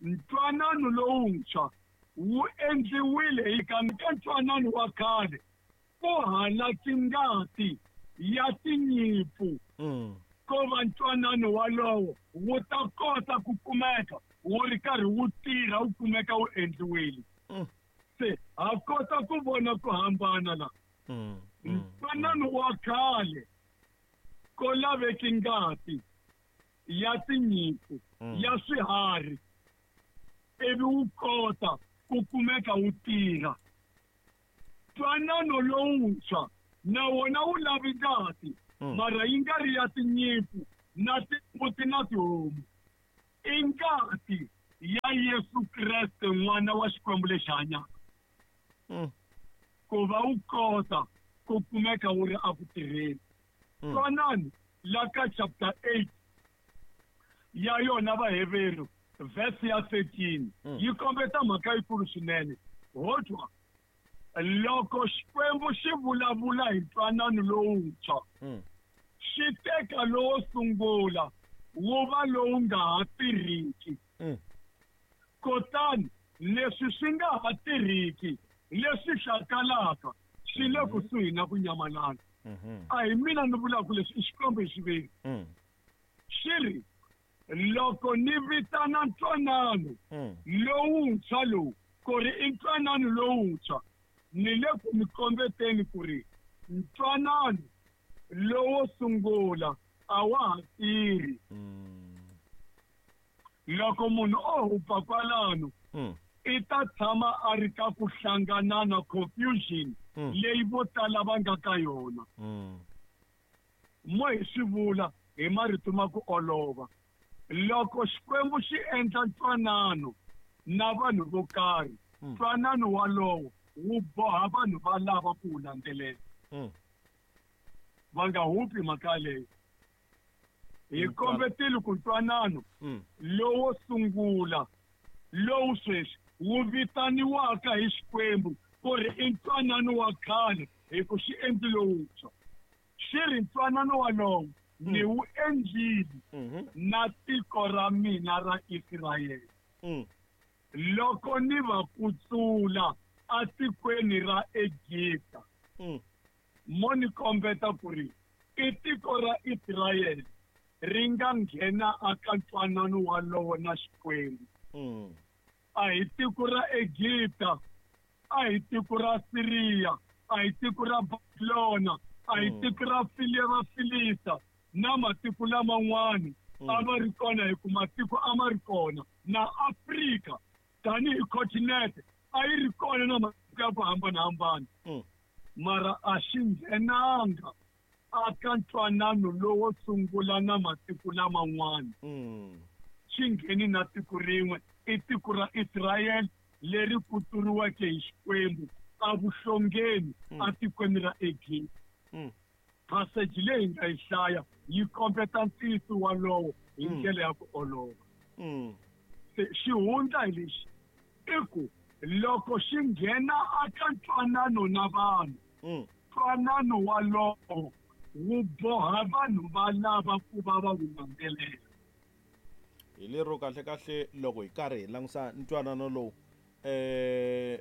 Ntwanano lowuntshwa wu endliwile hi ka ntwanano wa khale ku halaki ngati ya tinyimpfu ko va ntwanano walowo wu ta kota ku kumeka wu ri karhi wu tirha wu kumeka wu endliwile. Se ha kota ku vona ku hambana la. Ntwanano wa khale ko laveki ngati ya tinyimpfu ya swiharhi ivi wu kota ku kumeka wu tirha. Ntwanano lowuntshwa na wona wu lavi ngati, mara yi nga ri ya tinyimpfu na timbuti na tihomu. I ngati ya Yesu Kreste N'wana wa Xikwembu lexi hanyaka, ku va wu kota ku kumeka wu ri eku tirheni. Twanani la ka chapter 8 ya yona Vaheveru, verse ya 13, yi kombeta mhaka yikulu swinene. Ho twa loko Xikwembu xi vulavula hi ntwanano lowuntshwa, xi teka lowo sungula wu va lowu nga ha tirhiki. Kutani leswi swi nga ha tirhiki, leswi hlakalaka, swi le kusuhi na ku nyamalala. A hi mina ni vulaka leswi, i Xikwembu hi xiviri. Xi ri, loko ni vitana ntwanano lowuntshwa lowu ku ri i ntwanano lowuntshwa, ni le ku mi kombeteni ku ri ntwanano lowo sungula a wa ha tirhi. Loko munhu o hupa kwalano, i ta tshama a ri ka ku hlanganana, confusion leyi vo tala va nga ka yona. Mo hi swi vula hi marito ma ku olova, loko Xikwembu xi endla ntwanano na vanhu vo karhi, ntwanano walowo wu boha vanhu va lava ku wu landzelela. Va nga hupi mhaka leyo. Hi kombetile ku ntwanano lowo sungula lowu sweswi wu vitaniwaka hi Xikwembu ku ri i ntwanano wa khale hi ku xi endlile wuntshwa. Xi ri ntwanano walowo ni wu endlile na tiko ra mina ra Israyele loko ni va kutsula atikweni ra Egipta. Mo ni kombeta ku ri i tiko ra Israyele ri nga nghena aka ntwanano walowo na Xikwembu. A hi tiko ra Egipta, a hi tiko ra Siriya, a hi tiko ra Babilona, a hi tiko ra Vafilista na matiko laman'wana a va ri kona, hi ku matiko a ma ri kona na Afrika tanihi continent a yi ri kona na matiko ya ku hambanahambana, mara a xi nghenanga aka ntwanano lowo sungula na matiko laman'wana. Xi ngheni na tiko rin'we, i tiko ra Israyele leri kutsuriweke hi Xikwembu evuhlongeni atikweni ra Egipta. Passage leyi hi nga yi hlaya yi kombeta ntiyiso walowo hi ndlela ya ku olova. Se xihundla hi lexi i ku loko xi nghena aka ntwanano na vanhu, ntwanano walowo wu boha vanhu va lava ku va va wu landzelela. Hi lero kahle kahle loko hi karhi hi langusa ntwanano lowu,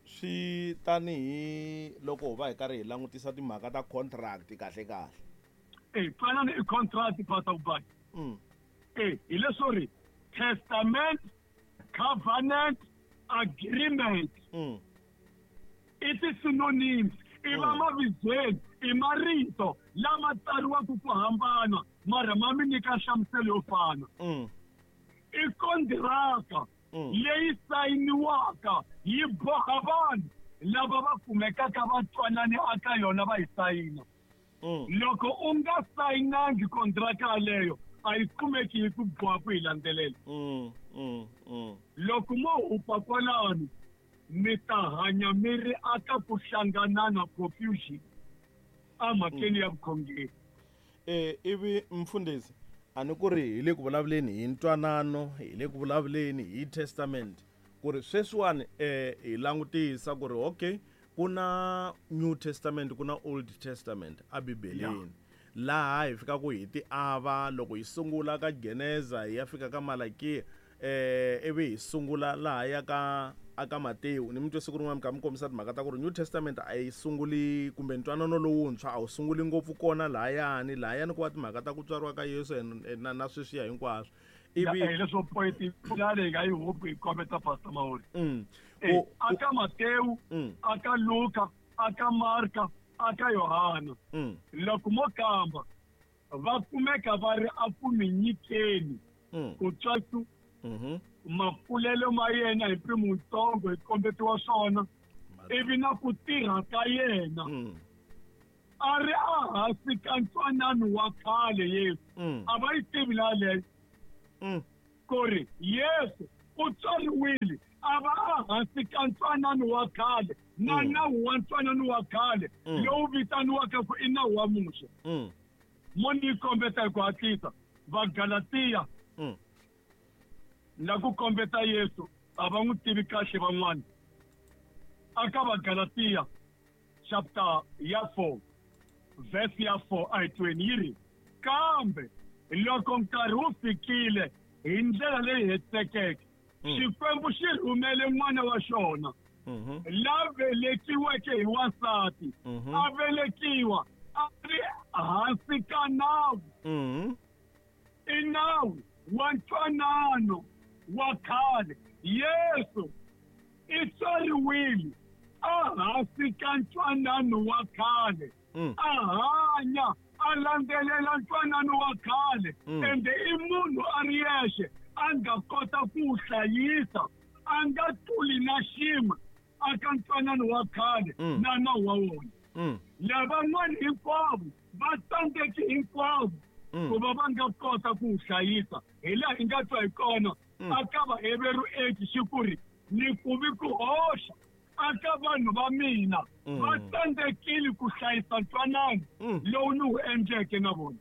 swi tanihi loko hi va hi karhi hi langutisa timhaka ta contract kahle kahle. Ntwanano i contract, Pastor Ubani. Hi leswo ri testament, covenant, agreement. I ti-synonyms, i va mavizweni, i marito lama tsariwaka ku hambana mara ma mi nyika nhlamuselo yo fana. I kondiraka leyi sayiniwaka yi boha vanhu lava va kumekaka va twanani aka yona va yi sayina. Loko u nga sayinangi kondiraka yaleyo, a yi kumeki yi ku boha ku yi landzelela. Loko mo hupa kwalano, mi ta hanya mi ri aka ku hlanganana, confusion emhakeni ya vukhongeri. Ivi mfundhisi, a ni ku ri hi le ku vulavuleni hi ntwanano, hi le ku vulavuleni hi testament, ku ri sweswiwani hi langutisa ku ri okay, ku na New Testament, ku na Old Testament a Bibeleni. Laha hi fikaka hi ti ava loko hi sungula ka Geneza hi ya fika ka Malakiya. Ivi hi sungula laha ya ka aka Matewu ni mi twe siku rin'wana mi kha mi kombisa timhaka ta ku ri New Testament a yi sunguli kumbe ntwanano lowuntshwa a wu sunguli ngopfu kona lahayani lahayani ku va timhaka ta ku tswariwa ka Yesu na sweswiya hinkwaswo. Ivi leswo point leyi nga yi hope hi kombeta Pastor Mahori. Aka Matewu, aka Luka, aka Marka, aka Yohana. Loko mo kamba va kumeka va ri a ku mi nyikeni ku tswatsu makulelo ma yena hi mpimo wutsongo hi kombetiwa swona ivi na ku tirha ka yena a ri ehansi ka ntwanano wa khale Yesu. A va yi tivi la leyo ku ri Yesu u tswariwile a va ehansi ka ntwanano wa khale na nawu wa ntwanano wa khale lowu vitaniwaka ku i nawu wa Muxe. Mo ni kombeta hi ku hatlisa Vagalatiya na ku kombeta Yesu a va n'wi tivi kahle van'wana. Aka Vagalatiya chapter ya 4 verse ya 4 a hi tweni yi ri, kambe loko nkarhi wu fikile hi ndlela leyi hetisekeke Xikwembu xi rhumele n'wana wa xona la velekiweke hi wansati, a velekiwa a ri hansi ka nawu. I nawu wa ntwanano wa khale. Yesu i tswariwile a hansi ka ntwanano wa khale, a hanya a landzelela ntwanano wa khale, ende i munhu a ri yexe a nga kota ku wu hlayisa, a nga tluli na xin'we aka ntwanano wa khale na nawu wa wona. Lavan'wana hinkwavo va tsandzeki hinkwavo ku va va nga kota ku wu hlayisa, hi laha hi nga twa hi kona aka Vaheveru 8 xi ku ri ni ku vi ku hoxa aka vanhu va mina va tsandzekile ku hlayisa ntwanano lowu ni wu endleke na vona.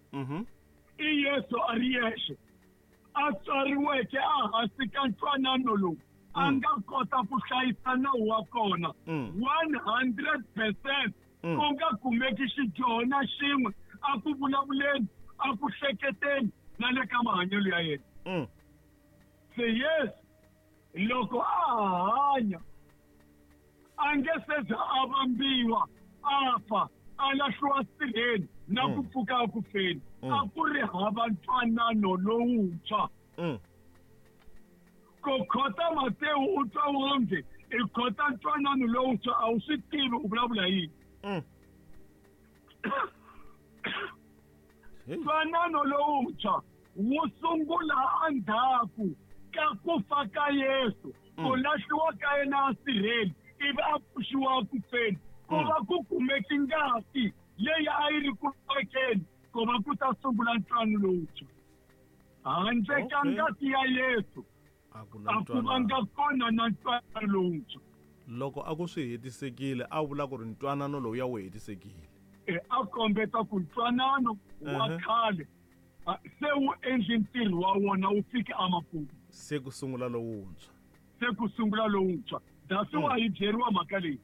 I Yesu a ri yexe a tswariweke ehansi ka ntwanano lowu a nga kota ku hlayisa nawu wa kona 100%, ku nga kumeki xidyoho na xin'we a ku vulavuleni, a ku hleketeni na le ka mahanyelo ya yena. Se Yesu loko a hanya a nge se za a vambiwa, a fa, a lahliwa sirheni na ku pfuka a ku feni, a ku ri hava ntwanano lowuntshwa. Ku khota Matewu u twa wonge i khota ntwanano lowuntshwa, a wu swi tivi u vulavula yini. Ntwanano lowuntshwa wu sungula endzhaku ka ku fa ka Yesu, ku lahliwa ka yena asirheni ivi a pfuxiwa ku feni, ku va ku kumeki ngati leyi a yi ri ku vekeni ku va ku ta sungula ntwanano lowuntshwa. Handle ka ngati ya Yesu a ku vanga kona na ntwanano lowuntshwa. Loko a ku swi hetisekile a vula ku ri ntwanano lowu ya wu hetisekile. A kombeta ku ntwanano wa khale se wu endli ntirho wa wona wu fike emakumu, se ku sungula lowuntshwa. Se ku sungula lowuntshwa. That's why yi byeriwa mhaka leyi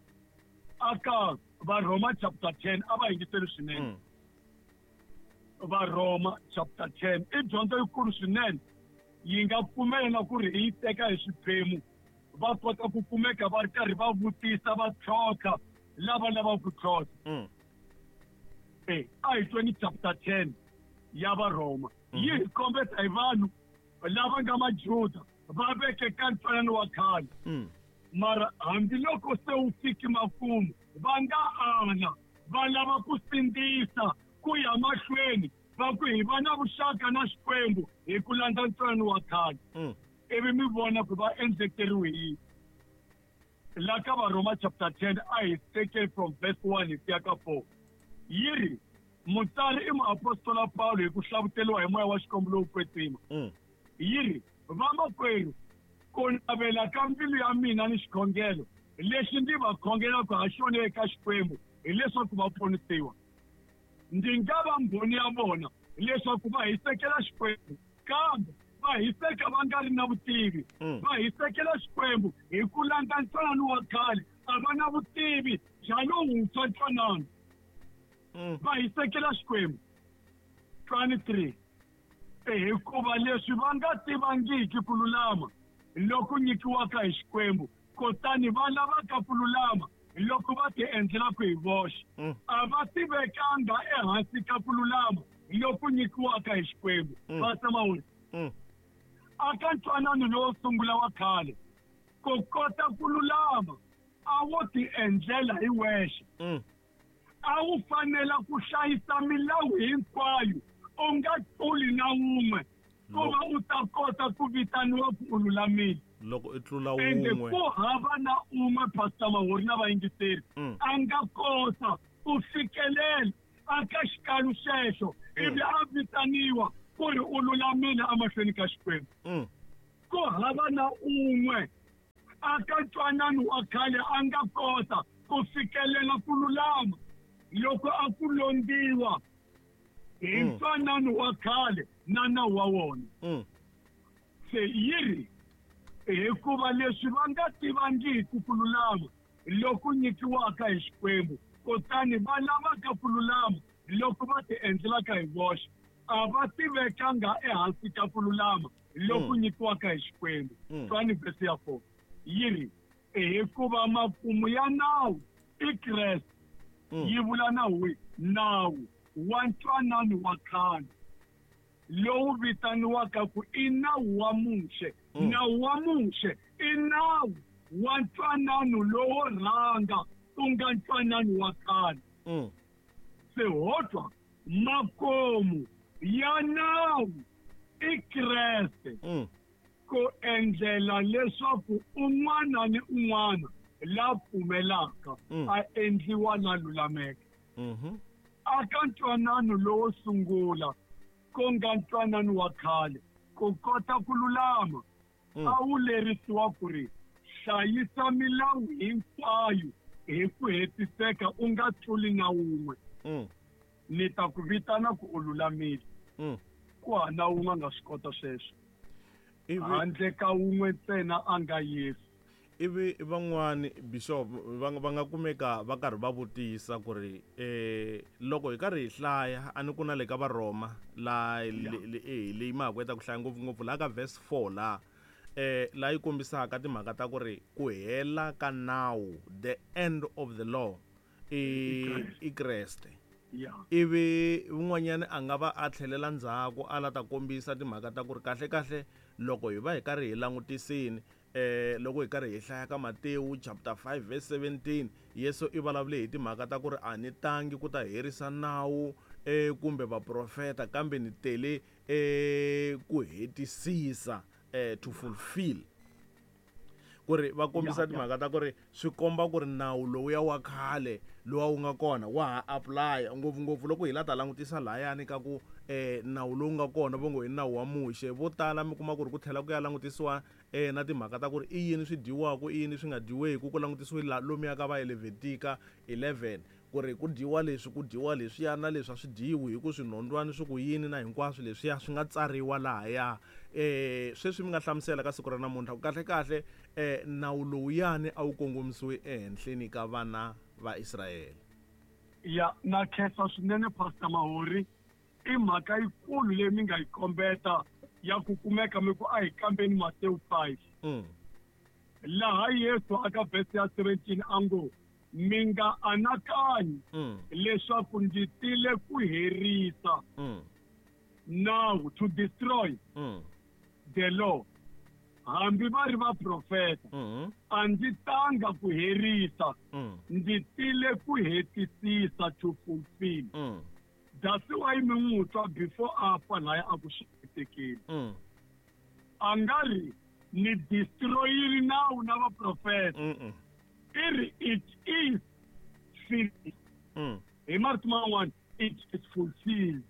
aka Varhoma chapter 10 a va yingiseli swinene. Varhoma chapter 10 i dyondzo yikulu swinene, yi nga pfumela na ku ri hi yi teka hi swiphemu, va kota ku kumeka va ri karhi va vutisa va tlhontlha lava lavaka ku tlhontlha. A hi tweni chapter 10 ya Varhoma yi hi kombeta hi vanhu lava nga Majuda va veke ka ntwanano wa khale, mara hambiloko se wu fiki makumu va nga ala, va lava ku sindzisa ku ya mahlweni, va ku hi va na vuxaka na Xikwembu hi ku landza ntwanano wa khale. Ivi mi vona ku va endlekeriwe yini. La ka Varhoma chapter 10 a hi teke from verse 1 hi siya ka 4. Yi ri mutsari i muapostola Paulo hi ku hlavuteliwa hi moya wa Xikwembu lowu kwetsima. Yi ri vamakwerhu, ku navela ka mbilu ya mina ni xikhongelo lexi ndzi va khongelaka ha xona eka Xikwembu hileswaku va ponisiwa. Ndzi nga va mbhoni ya vona leswaku va hisekela Xikwembu, kambe va hiseka va nga ri na vutivi. Va hisekela Xikwembu hi ku landza ntwanano wa khale, a va na vutivi bya lowuntshwa ntwanano. Va hisekela Xikwembu. 23. Hikuva leswi va nga tivangiki ku lulama loku nyikiwaka hi Xikwembu, kutani va lavaka ku lulama loko va ti endlelaka hi voxe, a va tivekanga ehansi ka ku lulama loku nyikiwaka hi Xikwembu. Pastor Mahuri, aka ntwanano lowo sungula wa khale, ku kota ku lulama a wo ti endlela hi wexe. A wu fanela ku hlayisa milawu hinkwayo, u nga tluli na wun'we, ku va u ta kota ku vitaniwa ku u lulamile. Loko i tlula wun'we, ku hava na un'we, Pastor Mahuri na vayingiseri, a nga kota ku fikelela aka xikalu xexo ivi a vitaniwa ku ri u lulamile emahlweni ka Xikwembu. Ku hava na un'we aka ntwanano wa khale a nga kota ku fikelela ku lulama loko a ku londiwa hi ntwanano wa khale na nawu wa wona. Se yi ri hikuva leswi va nga tivangiki ku lulama loku nyikiwaka hi Xikwembu, kutani va lavaka ku lulama loko va ti endlelaka hi voxe, a va tivekanga ehansi ka ku lulama loku nyikiwaka hi Xikwembu. Twani verse ya 4 yi ri hikuva makumu ya nawu i Kreste. Yi vula nawu wihi? Nawu wa ntwanano wa khale lowu vitaniwaka ku i nawu wa Muxe. Nawu wa Muxe i nawu wa ntwanano lowo rhanga, ku nga ntwanano wa khale. Se ho twa makomu ya nawu i Kreste, ku endlela leswaku un'wana ni un'wana la pfumelaka a endliwa la lulameke. Aka ntwanano lowo sungula, ku nga ntwanano wa khale, ku kota ku lulama a wu lerisiwa ku ri hlayisa milawu hinkwayo hi ku hetiseka, u nga tluli na wun'we. Ni ta ku vitana ku u lulamile. Ku hana wun'we a nga swi kota sweswo, handle ka wun'we ntsena a nga Yesu. Ivi van'wani, Bishop, va nga kumeka va karhi va vutisa ku ri loko hi karhi hi hlaya a ni ku na le ka Varoma la leyi ma ha ku heta ku hlaya ngopfungopfu laha ka verse 4 laha laha yi kombisaka timhaka ta ku ri ku hela ka nawu, the end of the law i Kreste. Ivi un'wanyana a nga va a tlhelela ndzhaku a la ta kombisa timhaka ta ku ri kahle kahle loko hi va hi karhi hi langutisini loko hi karhi hi hlaya ka Matewu chapter 5 verse 17, Yesu i vulavule hi timhaka ta ku ri a ni tangi ku ta herisa nawu kumbe vaprofeta, kambe ni tele ku hetisisa, to fulfill. Ku ri va kombisa timhaka ta ku ri swi komba ku ri nawu lowuya wa khale lowa wu nga kona wa ha apply, ngopfungopfu loko hi la ta langutisa lahayani ka ku nawu lowu nga kona vo ngo i nawu wa Muxe. Vo tala mi kuma ku ri ku tlhela ku ya langutisiwa na timhaka ta ku ri i yini swi dyiwaka, i yini swi nga dyiweki, ku langutisiwe lomuya ka va Levitika 11 ku ri ku dyiwa leswi, ku dyiwa leswiya na leswi a swi dyiwi hi ku swinhondwani swi ku yini na hinkwaswo leswiya swi nga tsariwa lahaya. Sweswi mi nga hlamusela ka siku ra namuntlha ku kahle kahle nawu lowuyani a wu kongomisiwe ehenhleni ka vana va Israyele. Ya, na khensa swinene Pastor Mahori, i mhaka yikulu leyi mi nga yi kombeta ya ku kumeka mi ku a hi kambeni Matewu 5. Laha Yesu aka verse ya 17 a ngo, mi nga anakanyi leswaku ndzi tile ku herisa nawu, to destroy the law, hambi va ri vaprofeta. A ndzi tanga ku herisa, ndzi tile ku hetisisa, to fulfill. That's why mi n'wi twa before a fa laya a ku swi hetekile. A nga ri ni destroyile nawu na vaprofeta. I ri it is finished. Hi marito man'wana, it is fulfilled.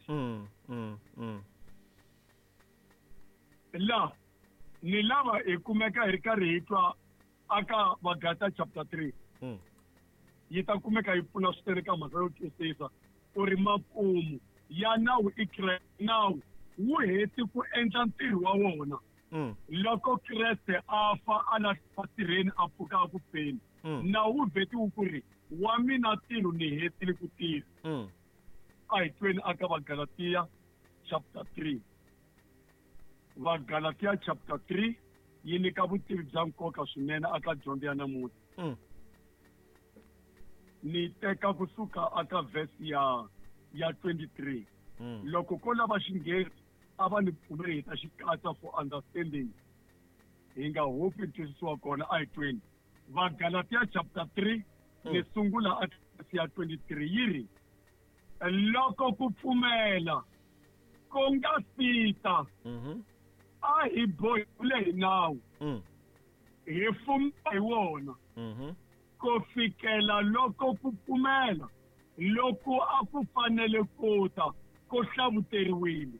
La ni lava hi kumeka hi ri karhi hi twa aka Vagalata chapter 3. Yi ta kumeka yi pfuna swinene ka mhaka yo twisisa ku ri makumu ya nawu i Kreste. Nawu wu heti ku endla ntirho wa wona. Loko Kreste a fa a lahliwa sirheni a pfuka a ku feni, nawu wu vhetiwe ku ri wa mina ntirho ni hetile ku tirha. A hi tweni aka Vagalatiya chapter 3. Vagalatia chapter 3 yi nyika vutivi bya nkoka swinene aka dyondzo ya namuntlha. Ni teka kusuka aka verse ya 23. Loko ko lava Xinghezi a va ni pfumeli hi ta xi katsa for understanding, hi nga hopi ntwisiso wa kona. A hi tweni Vagalatia chapter 3, ni sungula aka verse ya 23, yi ri: loko ku pfumela ku nga fita, a hi bohile hi nawu, hi fuma hi wona, ku fikela loko ku pfumela loko a ku fanele ku ta ku hlavuteriwile.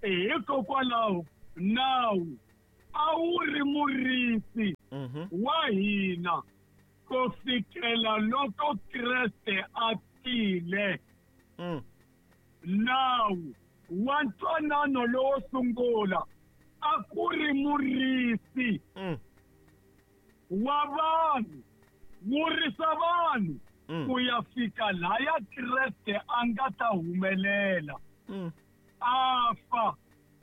Hikokwalaho nawu a wu ri murisi wa hina ku fikela loko Kreste a tile. Nawu wa ntwanano lowo sungula a ku ri murisi wa vanhu, wu risa vanhu ku ya fika laya Kreste a nga ta humelela, a fa,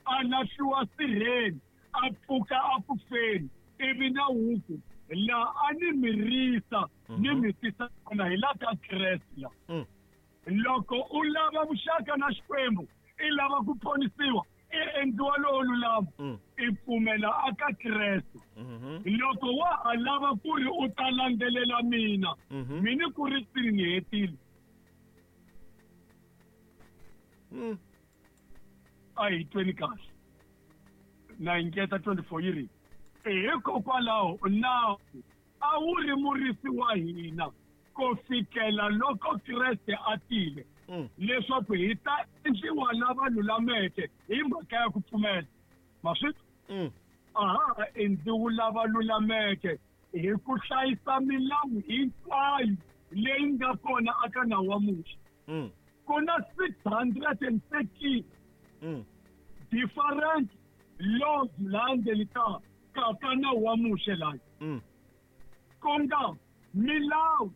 a lahliwa sirheni, a pfuka a ku feni, ivi na wuku la a ni mi risa ni mi tisa kona hi la ka Kreste la. Loko u lava vuxaka na Xikwembu, i lava ku ponisiwa, i endliwa lowo lulama, i pfumela aka Kreste. Loko wa ha lava ku ri u ta landzelela mina, mina ku ri sini ni hetile. A hi tweni kahle. Na engeta 24 yi ri: hikokwalaho nawu a wu ri murisi wa hina ku fikela loko Kreste a tile, leswaku hi ta endliwa lava lulameke hi mhaka ya ku pfumela. Maswi? A ha endliwi lava lulameke hi ku hlayisa milawu hinkwayo leyi nga kona aka nawu wa Muxe. Ku na 613 different laws laha ndzeni ka ka nawu wa Muxe laya, ku nga milawu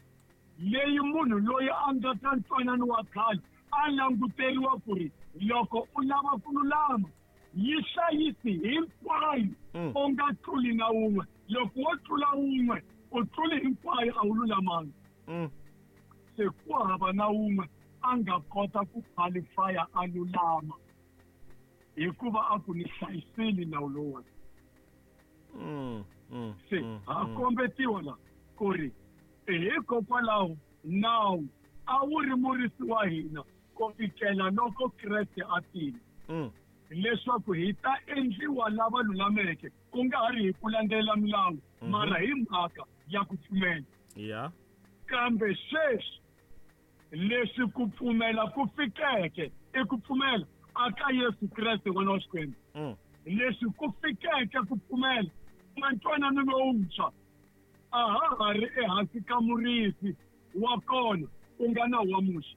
leyi munhu loyi a nga ka ntwanano wa khale a languteriwa ku ri loko u lava ku lulama yi hlayisi hinkwayo, u nga tluli na wun'we. Loko wo tlula wun'we, u tluli hinkwayo, a wu lulamanga. Se ku hava na wun'we a nga kota ku qualifya a lulama, hikuva a ku ni hlayisile nawu lowuwani. Se ha kombetiwa la ku ri hikokwalaho nawu a wu ri murisi wa hina ku fikela loko Kreste a tile, leswaku hi ta endliwa lava lulameke, ku nga ha ri hi ku landzelela milawu, mara hi mhaka ya ku pfumela. Kambe sweswi leswi ku pfumela ku fikeke, i ku pfumela aka Yesu Kreste n'wana wa Xikwembu. Leswi ku fikeke ku pfumela na ntwanano lowuntshwa, a ha ha ri ehansi ka murisi wa kona, ku nga nawu wa Muxe.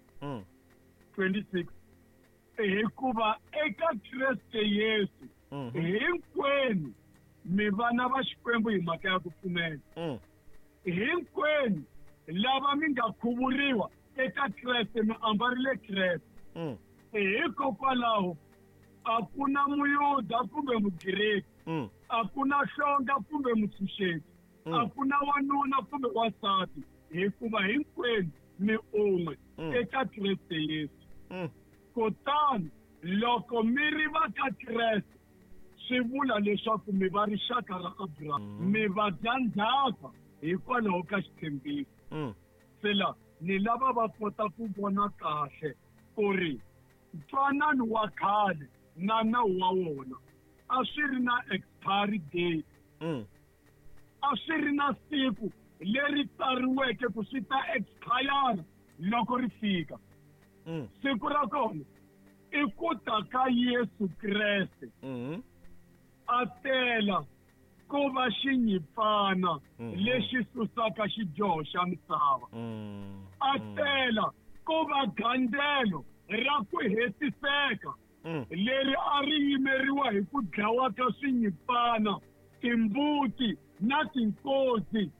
26 hikuva eka Kreste Yesu hinkwenu mi vana va Xikwembu hi mhaka ya ku pfumela. Hinkwenu lava mi nga khuvuriwa eka Kreste mi ambarile Kreste. Hikokwalaho a ku na Muyuda kumbe Mugiriki, a ku na hlonga kumbe mutshunxeki, a ku na wanuna kumbe wansati, hikuva hinkwenu mi un'we eka Kreste Yesu. Kutani loko mi ri va ka Kreste, swi vula leswaku mi va rixaka ra Abraham, mi va dyandzhaka hikwalaho ka xitshembiso. Se la ni lava va kota ku vona kahle ku ri ntwanano wa khale na nawu wa wona a swi ri na expiry date, a swi ri na siku leri tsariweke ku swi ta expire loko ri fika. Siku ra kona i ku ta ka Yesu Kreste, a tela ku va xinyipfana lexi susaka xidyoho xa misava, a tela ku va gandzelo ra ku hetiseka leri a ri yimeriwa hi ku dlawa ka swinyipfana, timbuti na tinkosi.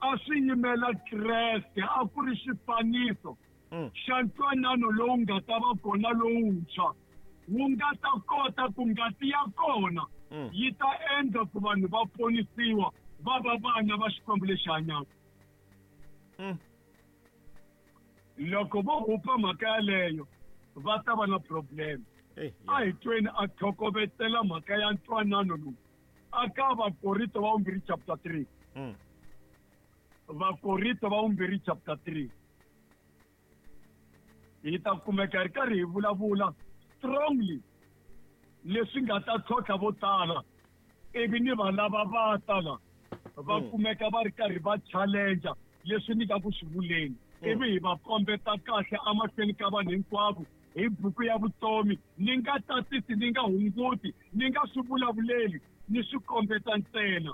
A swi yimela Kreste, a ku ri xifaniso xa ntwanano lowu nga ta va kona lowuntshwa. Wu nga ta kota ku ngati ya kona yi ta endla ku vanhu va ponisiwa va va vana va Xikwembu lexi hanyaka. Loko vo hupa mhaka yaleyo va ta va na problem. A hi tweni a tlhokovetela mhaka ya ntwanano lowu aka Vakorinto va vumbirhi chapter 3. Vakorinto va vumbirhi chapter 3 hi ta kumeka hi ri karhi hi vulavula strongly leswi nga ta tlhontlha vo tala, ivi ni va lava va tala va kumeka va ri karhi va challenge leswi ni nga ku swi vuleni, ivi hi va kombeta kahle emahlweni ka vanhu hinkwavo hi buku ya vutomi. Ni nga tatisi, ni nga hunguti, ni nga swi vulavuleli, ni swi kombeta ntsena.